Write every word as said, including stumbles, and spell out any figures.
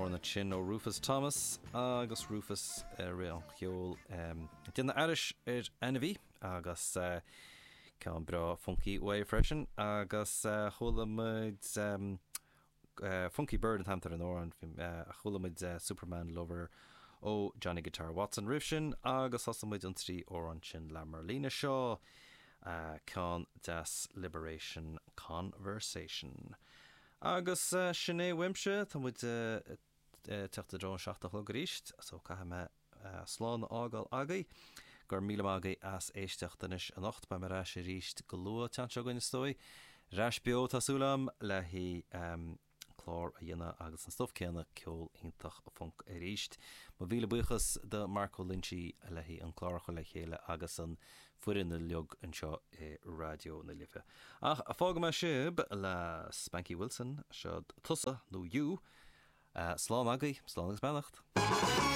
Amhrán sin ó Rufus Thomas agus Rufus ré an cheol déanamh aithris ar ainmhí agus uh, ceann breá funky uaidh freisin agus uh, chuala muid um, uh, Funky Bird an t-ainm ar an amhrán uh, chuala muid uh, Superman Lover ó Johnny Guitar Watson roimh sin agus thosaigh muid an trí amhrán sin le Marlena Shaw uh, ceann deas Liberation Conversation. Agus uh, sin é uaimse tá muid uh, teacht i dtreo an seacht a chlog arís, so caithfidh mé uh, slán a fhágáil agaibh, gur míle maith agaibh as éisteacht anois anocht beidh mé ar ais arís go luath an tseachtain seo chugainn is dóigh. Ar ais beo tá súil agam le hí um, clár a dhéanamh agus an stuff céanna ceol iontach funk arís. Mo mhíle buíochas do Marco Lynchy le hí an clár a chur le chéile agus an foireann uilig anseo i Raidió na Life. Ach fágfaidh mé sibh le Spanky Wilson seo tusa nó you, uh, slán agaibh, slán agus beannacht.